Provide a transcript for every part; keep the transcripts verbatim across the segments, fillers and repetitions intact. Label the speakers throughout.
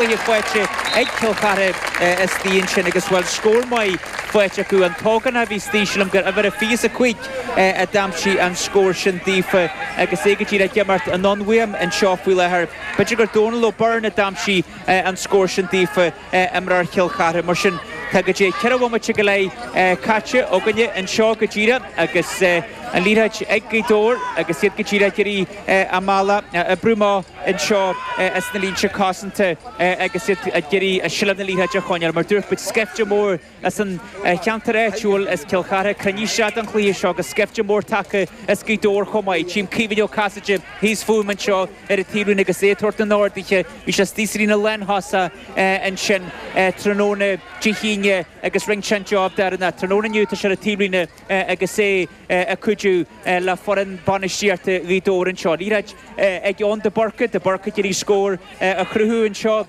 Speaker 1: Cluiche faighte ag Cill Chartha istigh ansin agus bhuel scór maith faighte acu. An t-ógánach a bhí istigh sílim gur uimhir a fiche is a cúig a d'aimsigh an scór sin daofa agus é go díreach ag imirt anonn uaim anseo faoi láthair. B'fhéidir gur Dónal O'Byrne a d'aimsigh an scór sin daofa, imreoir Chill Chartha. Mar sin tá go dtí ceithre bhomaite go leith caite againne anseo go díreach agus an liathróid ag Gaoth Dobhair agus iad go díreach ag iarraidh a mbealach a oibriú amach anseo as na línte cosanta agus iad ag iarraidh seilbh na liathróide a choinneáil. Mar dúirt muid, scaifte mór as an cheantar áitiúil as Cill Chartha cruinnithe isteach don chluiche seo agus scaifte mór tagtha as Gaoth Dobhair chomh maith. Tchím Caoimhín Ó Casaide thíos fúm anseo ar an taobhlíne agus é ag tabhairt na n-orduithe. Bhí sé istigh sa líne lánthosach ansin tráthnóna Dé hAoine agus rinne sé an job deireanach. Tráthnóna inniu tá sé ar an taobhlíne agus é ag cuidiú le foireann bainistíochta Ghaoth Dobhair anseo. Liathróid ag Eoin de Búrca, de Búrca ag iarraidh scór a chruthú anseo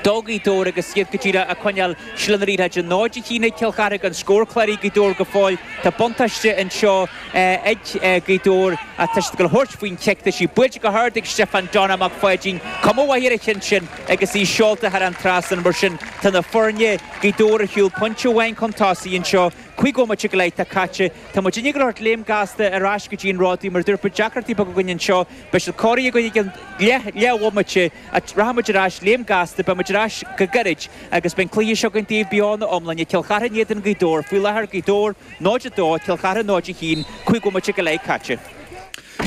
Speaker 1: do Ghaoth Dobhair agus iad go díreach ag coinneáil seilbh na liathróide. náid a haon ag Cill Chartha gan scór cláraithe ag Gaoth Dobhair go fóill. Tá buntáiste anseo ag Gaoth Dobhair ach tá siad ag dul a thabhairt faoin chic. Tá sí buailte go hard ag Stiofán Donna Mac Pháidín. Cuma mhaith ar an cheann sin agus í seolta thar an trasnán. Mar sin tá na foirne, Gaoth Dobhair ar shiúl pointe amháin chun tosaigh anseo. Cúig bhomaite go leith atá caite. Tá muid ag dul léim gasta ar ais go dtí an Ródaí mar a dúirt muid deacrachtaí beaga againn anseo. Beidh siad cóirithe againn i gcionn leath leathbhomaite. Rachaidh muid ar ais léim gasta, beidh muid ar ais go gairid agus beidh an cluiche seo againn daoibh beo ina iomláine. Cill Chartha in éadan Ghaoth Dobhair. Faoi láthair Gaoth Dobhair náid a dó, Cill Chartha náid a haon, cúig bhomaite go leith caite.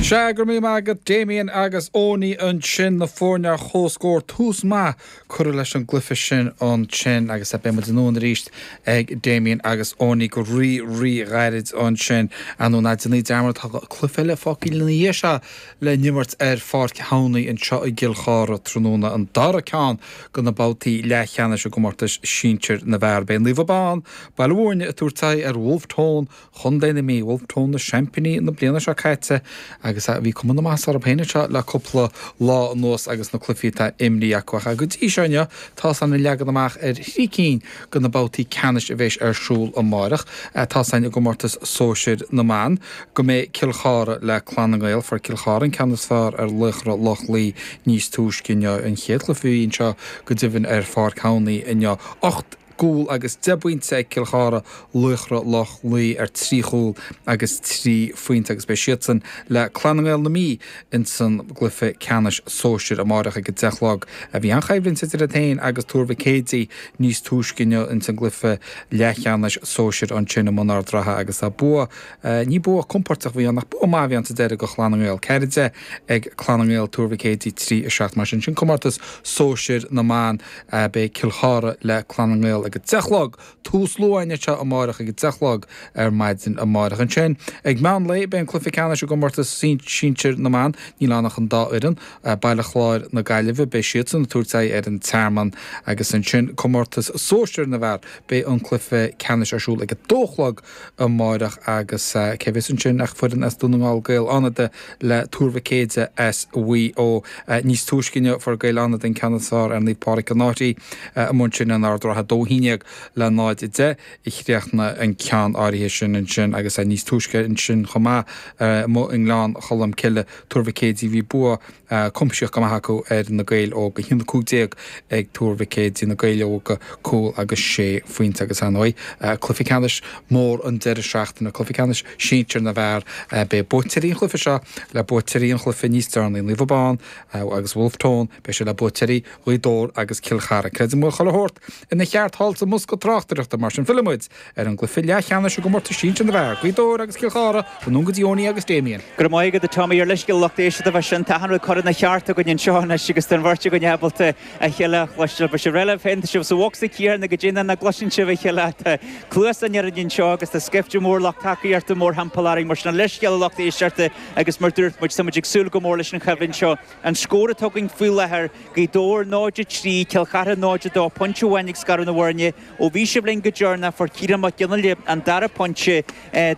Speaker 2: Sea, go raibh míle maith agat Damien agus Owenie ansin, na foirne ar comhscór, tús maith curtha leis an gcluiche sin ansin agus beidh muid anonn arís ag Damien agus Owenie go rí rí ghairid ansin. Ar ndóigh ná déanaí dearmad tá cluiche eile fágtha ina dhiaidh seo le n-imirt ar Pháirc Thamhnaigh anseo i gCill Chartha tráthnóna, an dara ceann de na babhtaí leathcheannais i gcomórtas sinsir na bhfear. Beidh Naomh Abán, Baile Mhúirne ag tabhairt aghaidh ar Wolfe Tone Chontae na Mí, Wolfe Tone na seaimpíní na bliana seo caite agus bhí cuma na maitheasa orthu féin anseo le cúpla lá anuas agus na cluichí atá imrithe acu. Ach go dtí seo inniu tá's againn an leagan amach ar thrí cinn de na babhtaí ceannais a bheas ar siúl amárach. Tá's againn i gcomórtas sóisir na mban go mbeidh Cill Chartha le Clann na nGael. Fuair Cill Chartha an ceann is fearr ar Laochra Loch Lao níos túisce inniu. An chéad chluiche a bhí anseo go deimhin ar Pháirc Thamhnaigh inniu. Ocht gcúl agus deich bpointe ag Cill Chartha, Laochra Loch Lao ar trí chúl agus trí phointe agus beidh siadsan le Clann na nGael na Mí insan gcluiche ceannais sóisir amárach ag a deich a chlog. Bhí an-choimhlint idir iad féin agus Tuar Mhic Éadaigh níos túisce inniu insan gcluiche leathcheannais sóisir ansin i mBun Ard Ratha agus bua, ní bua compordach a bhí ann ach bua maith a bhí ann sa deireadh do Chlann na nGael. Ceathair a deich ag Clann na nGael, Tuar Mhic Éadaigh trí a seacht. Mar sin, sin comórtas sóisir na mban. Beidh Cill Chartha le Clann na nGael ag a deich a chlog. Tús luath anseo amárach ag a deich a chlog ar maidin amárach. Ansin ag meán lae beidh an cluiche ceannais i gcomórtas sinsir na mban. Níl ann ach an dá fhoireann, Baile Chláir na Gaillimhe, beidh siadsan ag tabhairt aghaidh ar an Tearmann agus ansin comórtas sóisir na bhfear, beidh an cluiche ceannais ar siúl ag a dó a chlog amárach agus cé a bheas ansin ach foireann as Dún na nGall, Gaeil Fhánada le Tuar Mhic Éadaigh as Mhaigh Eo. Níos túisce inniu fuair Gaeil Fhánada an ceann is fearr ar Naomh Pádraig an Fhairche amuigh ansin in Ard Ratha, dó a haon déag le náid a deich a chríochnaigh an ceann áirithe sin ansin agus níos túisce ansin chomh maith amuigh i nGleann Cholm Cille, Tuar Mhic Éadaigh, bhí bua cuimsitheach go maith acu ar na Gaeil Óga, a haon a cúig déag ag Tuar Mhic Éadaigh, na Gaeil Óga, cúl agus sé phointe agus ar ndóigh cluiche ceannais mór an deireadh seachtaine, cluiche ceannais sinsir na bhfear, beidh buaiteoirí an chluiche seo le buaiteoirí an chluiche níos deireanaí, Naomh Abán agus Wolfe Tone, beidh sé le buaiteoirí Ghaoth Dobhair agus Cill Chartha. Creidim go bhfuil chuile shórt ina cheart thall sa mbosca tráchtaireachta, mar sin fillfidh muid ar an gcluiche leathcheannais i gcomórtas sinsir na bhfear, Gaoth Dobhair agus Cill Chartha, anonn go dtí Owenie agus Damien.
Speaker 1: Go raibh maith agat a Tommy ar leithscéal lucht éisteachta bheith sin. Tá achan rud curtha ina cheart againn anseo anois agus tá an bheirt againn ábalta a chéile a chloisteáil. Beidh sibh réidh libh féin, tá sibh sa bhocsa céanna go dtí nach gcloiseann sibh a chéile. Tá cluasa orainn anseo agus tá scaifte mór lucht tacaíochta mórthimpeall orainn mar sin leithscéal a lucht éisteachta agus mar dúirt muid, tá muid ag súil go mór leis an choimhlint seo. An scór atá againn faoi láthair, Gaoth Dobhair náid a trí, Cill Chartha náid a dó, pointe amháin ag scaradh na bhfoirne. foirne. Ó bhí sibh linn go deireanach fuair Ciarán Mac Fhionnghaile an dara pointe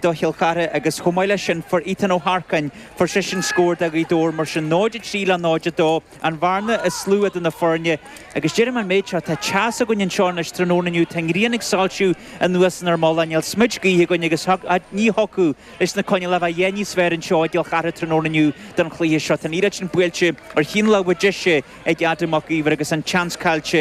Speaker 1: do Chill Chartha agus chomh maith leis sin fuair Ethan Ó hEarcáin, fuair seisean scór do Ghaoth Dobhair mar sin náid a trí le náid a dó an bhearna is lú idir na foirne agus deirim an méid seo tá teas againn anseo anois tráthnóna inniu tá an ghrian ag soilsiú anuas inár mullach níl smid gaoithe againn agus ní thiocfadh leis na coinníollacha a bheith níos fearr anseo i gCill Chartha tráthnóna inniu don chluiche seo. Tá an liathróid sin buailte ar shíneadh láimhe deise ag Adam Mac Íomhair agus an tseans caillte